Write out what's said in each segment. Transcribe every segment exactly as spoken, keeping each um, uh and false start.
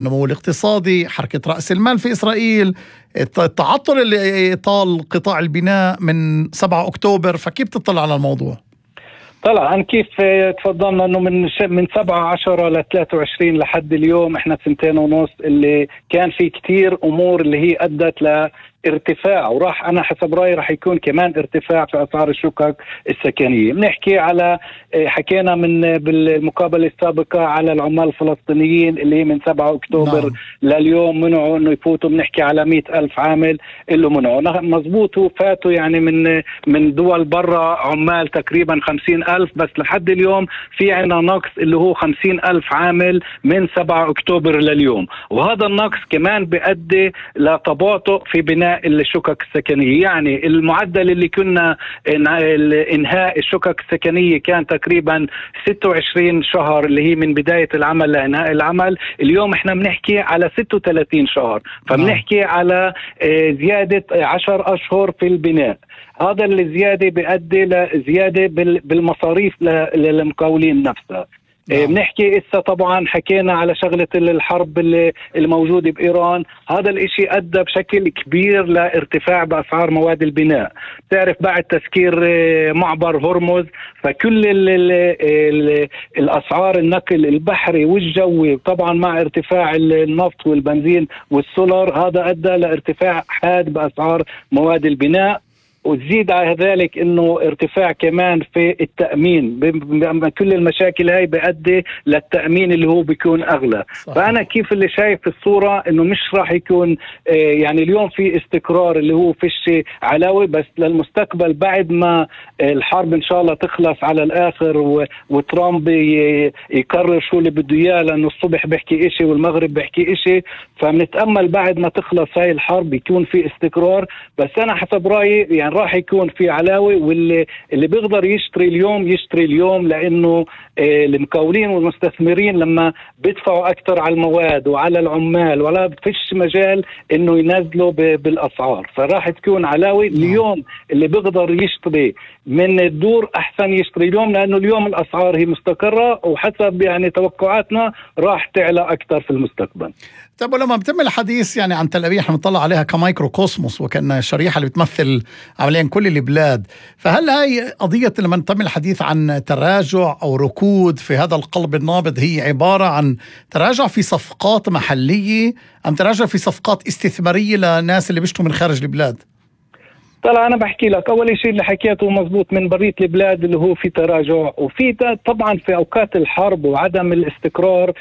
النمو الاقتصادي، حركة رأس المال في إسرائيل، التعطل اللي طال قطاع البناء من سبعة أكتوبر. فكيف تطلع على الموضوع؟ طلعا كيف تفضلنا انه من من سبعة عشرة ل ثلاثة وعشرين لحد اليوم احنا سنتين ونص اللي كان في كتير امور اللي هي ادت ل ارتفاع، وراح انا حسب رايي راح يكون كمان ارتفاع في اسعار الشقق السكنيه. بنحكي على حكينا من بالمقابله السابقه على العمال الفلسطينيين اللي من سبعة أكتوبر نعم. لليوم منعوا انه يفوتوا. بنحكي على مئة ألف عامل اللي منعوا مزبوط، وفاتوا يعني من من دول برا عمال تقريبا خمسين ألف، بس لحد اليوم في عنا نقص اللي هو خمسين ألف عامل من سبعة أكتوبر لليوم، وهذا النقص كمان بيؤدي لتباطؤ في بناء الشقق السكنية. يعني المعدل اللي كنا انهاء الشقق السكنية كان تقريبا ستة وعشرين شهر اللي هي من بداية العمل لإنهاء العمل، اليوم احنا بنحكي على ستة وثلاثين شهر، فبنحكي على زيادة عشر أشهر في البناء. هذا الزيادة بيؤدي لزيادة بالمصاريف للمقاولين نفسها. نعم. بنحكي إسا طبعا حكينا على شغلة الحرب اللي الموجودة بإيران، هذا الاشي أدى بشكل كبير لارتفاع بأسعار مواد البناء. تعرف بعد تسكير معبر هرمز فكل ال ال ال الأسعار النقل البحري والجوي طبعا مع ارتفاع النفط والبنزين والسولر هذا أدى لارتفاع حاد بأسعار مواد البناء. وتزيد على ذلك انه ارتفاع كمان في التأمين، كل المشاكل هاي بيؤدي للتأمين اللي هو بيكون اغلى. صحيح. فانا كيف اللي شايف في الصورة انه مش راح يكون آه يعني اليوم في استقرار اللي هو فيش علاوي، بس للمستقبل بعد ما الحرب ان شاء الله تخلص على الاخر وترامب يقرر شو اللي بده اياه، لانه الصبح بيحكي اشي والمغرب بيحكي اشي، فبنتأمل بعد ما تخلص هاي الحرب يكون في استقرار. بس انا حسب رأيي يعني راح يكون في علاوي، واللي اللي بيقدر يشتري اليوم يشتري اليوم، لانه آه المقاولين والمستثمرين لما بيدفعوا اكثر على المواد وعلى العمال ولا فيش مجال انه ينزلوا بالاسعار، فراح تكون علاوي. اليوم اللي بيقدر يشتري من الدور احسن يشتري اليوم، لانه اليوم الاسعار هي مستقرة وحسب يعني توقعاتنا راح تعلى اكثر في المستقبل. طيب ولما بتم الحديث يعني عن تل أبيب، احنا بنطلع عليها كمايكرو كوسموس وكأنها شريحة اللي بتمثل عمليا كل البلاد، فهل هاي قضية لما تم الحديث عن تراجع أو ركود في هذا القلب النابض هي عبارة عن تراجع في صفقات محلية أم تراجع في صفقات استثمارية لناس اللي بيشتوا من خارج البلاد؟ طلع أنا بحكي لك أول شيء اللي حكيته مزبوط، من برية البلاد اللي هو في تراجع، وفي طبعا في أوقات الحرب وعدم الاستقرار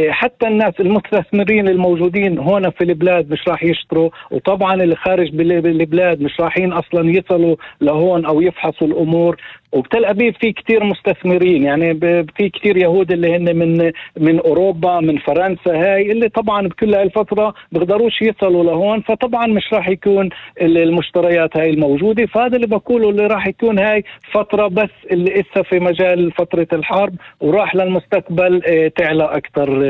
حتى الناس المستثمرين الموجودين هنا في البلاد مش راح يشتروا، وطبعا اللي خارج البلاد مش راحين أصلا يصلوا لهون أو يفحصوا الأمور. وبتل أبيب في كتير مستثمرين، يعني في كتير يهود اللي هن من من أوروبا من فرنسا، هاي اللي طبعا بكل هاي الفترة بيقدروش يصلوا لهون، فطبعا مش راح يكون المشتريات هاي الموجودة. فهذا اللي بقوله اللي راح يكون هاي فترة بس اللي إسا في مجال فترة الحرب، وراح للمستقبل تعلى أكتر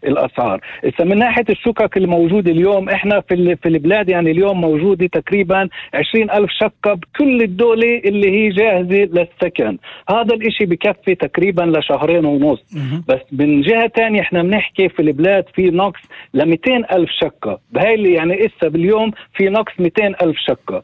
الأسعار. إسا من ناحية الشقق الموجودة اليوم إحنا في في البلاد، يعني اليوم موجودة تقريبا عشرين ألف شقة بكل الدولة اللي هي جاهزة السكن. هذا الاشي بكفي تقريبا لشهرين ونص. بس من جهة تانية احنا بنحكي في البلاد في نقص لمئتين ألف شقة، بهاي اللي يعني إسا باليوم في نقص مئتين ألف شقة.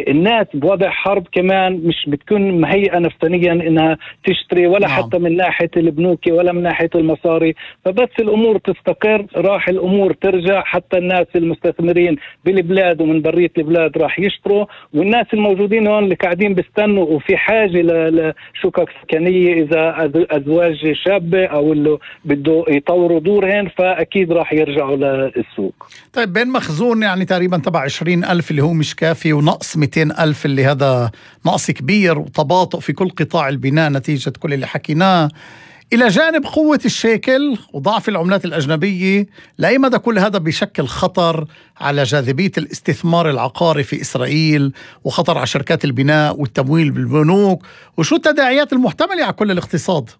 الناس بوضع حرب كمان مش بتكون مهيئة نفسيا انها تشتري ولا نعم. حتى من ناحية البنوك ولا من ناحية المصاري، فبس الامور تستقر راح الامور ترجع، حتى الناس المستثمرين بالبلاد ومن برية البلاد راح يشتروا، والناس الموجودين هون اللي قاعدين بيستنوا وفي حاجة لشقق سكنية اذا ازواج شابة او اللي بده يطوروا دورهن فاكيد راح يرجعوا للسوق. طيب بين مخزون يعني تقريبا تبع عشرين ألف اللي هو مش كافي ونقص مئتين ألف اللي هذا نقص كبير وتباطؤ في كل قطاع البناء نتيجة كل اللي حكيناه، إلى جانب قوة الشيكل وضعف العملات الأجنبية، لأي مدى كل هذا بيشكل خطر على جاذبية الاستثمار العقاري في إسرائيل وخطر على شركات البناء والتمويل بالبنوك، وشو التداعيات المحتملة على كل الاقتصاد؟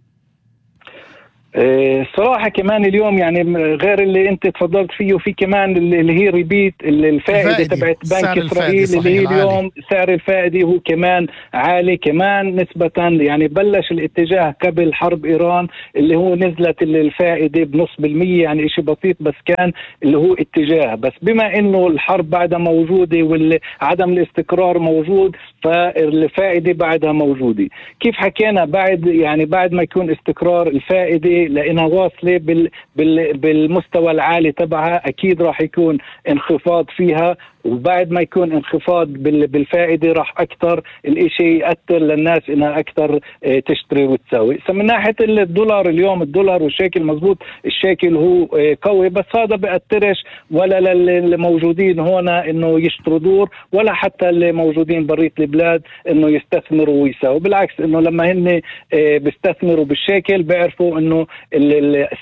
الصراحة كمان اليوم يعني غير اللي انت تفضلت فيه، في كمان اللي هي ريبيت الفائدة تبعت بنك إسرائيل اللي هي اليوم سعر الفائدة هو كمان عالي كمان نسبة، يعني بلش الاتجاه قبل حرب إيران اللي هو نزلت الفائدة بنص بالمية، يعني اشي بسيط بس كان اللي هو اتجاه، بس بما انه الحرب بعدها موجودة وعدم الاستقرار موجود فالفائدة بعدها موجودة. كيف حكينا بعد يعني بعد ما يكون استقرار الفائدة لأنها واصلة بال بال بالمستوى العالي تبعها أكيد راح يكون انخفاض فيها، وبعد ما يكون انخفاض بالفائدة راح أكثر الإشي يأثر للناس إنها أكثر تشتري وتساوي. من ناحية الدولار اليوم الدولار والشيكل مزبوط، الشيكل هو قوي بس هذا بأثرش ولا للموجودين هنا إنه يشتروا دور ولا حتى اللي موجودين بريت البلاد إنه يستثمروا ويساوي، بالعكس إنه لما هن بيستثمروا بالشيكل بيعرفوا إنه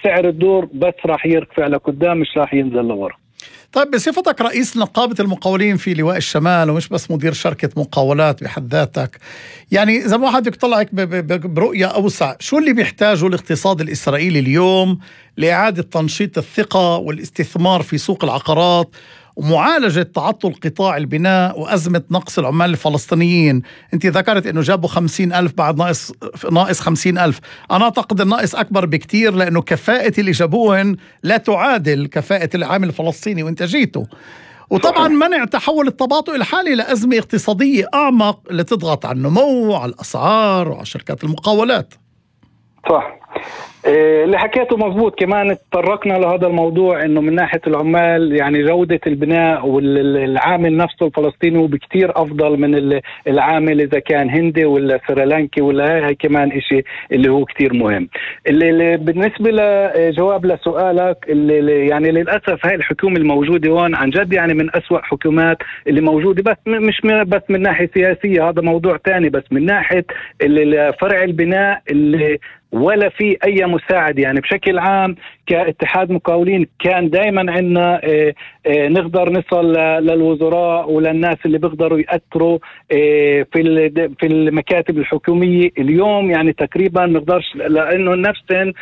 سعر الدور بس راح يرتفع لقدام مش راح ينزل لورا. طيب بصفتك رئيس نقابة المقاولين في لواء الشمال ومش بس مدير شركة مقاولات بحد ذاتك، يعني إذا ما حد يطلعك برؤية أوسع، شو اللي بيحتاجه الاقتصاد الإسرائيلي اليوم لإعادة تنشيط الثقة والاستثمار في سوق العقارات ومعالجة تعطل قطاع البناء وأزمة نقص العمال الفلسطينيين؟ أنت ذكرت أنه جابوا خمسين ألف بعد ناقص ناقص خمسين ألف، أنا أعتقد الناقص أكبر بكتير لأنه كفاءة اللي جابوهن لا تعادل كفاءة العامل الفلسطيني وإنتاجيته، وطبعا منع تحول التباطؤ الحالي لأزمة اقتصادية أعمق اللي تضغط على النمو وعلى الأسعار وعلى شركات المقاولات. صح اللي حكيته مضبوط. كمان تطرقنا لهذا الموضوع انه من ناحيه العمال يعني جوده البناء والعامل نفسه الفلسطيني هو بكتير افضل من العامل اذا كان هندي ولا سريلانكي ولا هاي كمان اشي اللي هو كتير مهم. اللي, اللي بالنسبه لجواب لسؤالك اللي يعني للاسف هاي الحكومه الموجوده هون عن جد يعني من أسوأ حكومات اللي موجوده، بس مش بس من ناحيه سياسيه هذا موضوع تاني، بس من ناحيه فرع البناء اللي ولا في أي مساعد. يعني بشكل عام كاتحاد مقاولين كان دائما عندنا اه اه نقدر نصل للوزراء وللناس اللي بيقدروا يأثروا اه في في المكاتب الحكومية. اليوم يعني تقريبا نقدرش لأنه نفسهم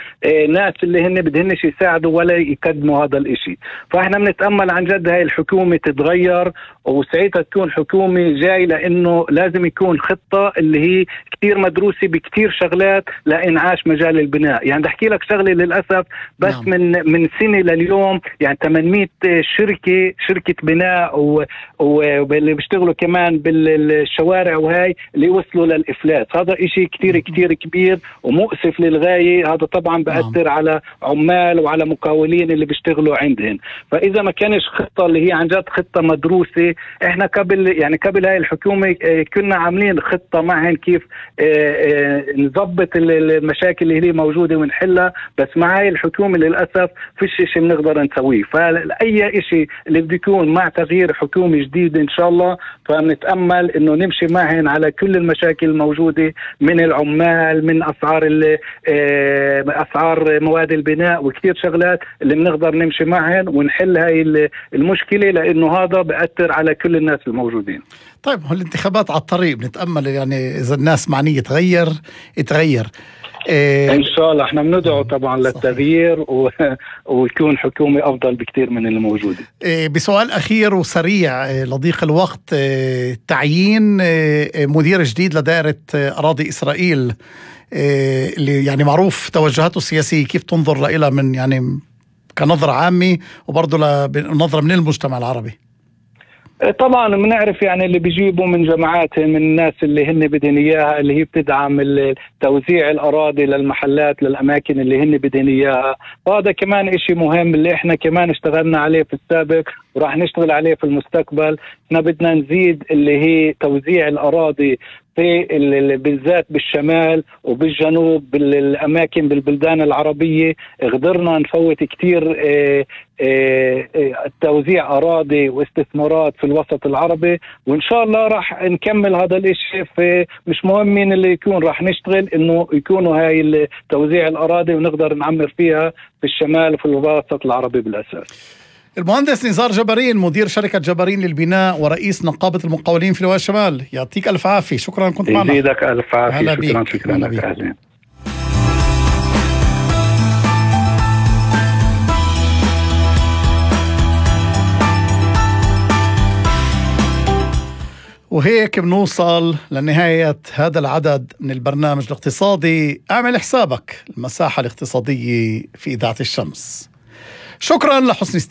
ناس اللي هن بدهنش يساعدوا ولا يقدموا هذا الإشي. فإحنا بنتأمل عن جد هاي الحكومة تتغير وساعتها تكون حكومة جاي، لأنه لازم يكون خطة اللي هي كتير مدروسة بكتير شغلات لإنعاش مجال البناء. يعني بحكي لك شغلة للأسف بس نعم. من من سنة لليوم يعني ثمانمئة شركة شركة بناء واللي بيشتغلوا كمان بالشوارع وهاي اللي وصلوا للإفلاس. هذا إشي كتير كتير كبير ومؤسف للغاية. هذا طبعا بأثر نعم. على عمال وعلى مقاولين اللي بيشتغلوا عندهم. فإذا ما كانش خطة اللي هي عن جد خطة مدروسة، إحنا قبل يعني قبل هاي الحكومة كنا عاملين خطة معهم كيف نضبط المشاكل اللي هي موجودة ونحلها، بس مع هاي الحكومة للأسف فيش شيء بنقدر نسويه. فأي شيء اللي بده يكون مع تغيير حكومة جديدة إن شاء الله فنتأمل إنه نمشي معهم على كل المشاكل الموجودة من العمال من أسعار أسعار مواد البناء وكثير شغلات اللي بنقدر نمشي معهم ونحل هاي المشكلة، لأنه هذا بأثر على كل الناس الموجودين. طيب الانتخابات على الطريق، بنتأمل يعني إذا الناس معنية تغير يتغير إيه إن شاء الله. إحنا بندعو طبعا للتغيير و... ويكون حكومة أفضل بكتير من اللي موجودة. إيه بسؤال أخير وسريع إيه لضيق الوقت، إيه تعيين إيه مدير جديد لدائرة إيه أراضي إسرائيل إيه اللي يعني معروف توجهاته السياسية، كيف تنظر لها من يعني كنظرة عامة وبرضه لنظرة من المجتمع العربي؟ طبعا بنعرف يعني اللي بيجيبوا من جماعات من الناس اللي هن بدهن اياها اللي هي بتدعم توزيع الاراضي للمحلات للاماكن اللي هن بدهن اياها، وهذا كمان اشي مهم اللي احنا كمان اشتغلنا عليه في السابق وراح نشتغل عليه في المستقبل. احنا بدنا نزيد اللي هي توزيع الاراضي في بالذات بالشمال وبالجنوب بالأماكن بالبلدان العربية. قدرنا نفوت كتير اه اه توزيع أراضي واستثمارات في الوسط العربي، وإن شاء الله راح نكمل هذا الإشي. في مش مهم مين اللي يكون، راح نشتغل إنه يكونوا هاي توزيع الأراضي ونقدر نعمر فيها في الشمال وفي الوسط العربي بالأساس. المهندس نزار جبارين مدير شركة جبارين للبناء ورئيس نقابة المقاولين في لواء الشمال، يعطيك ألف عافية. شكرا كنت معنا. يزيدك ألف عافية. شكرا شكرا لك. وهيك بنوصل لنهاية هذا العدد من البرنامج الاقتصادي. اعمل حسابك المساحة الاقتصادية في إذاعة الشمس. شكرا لحسن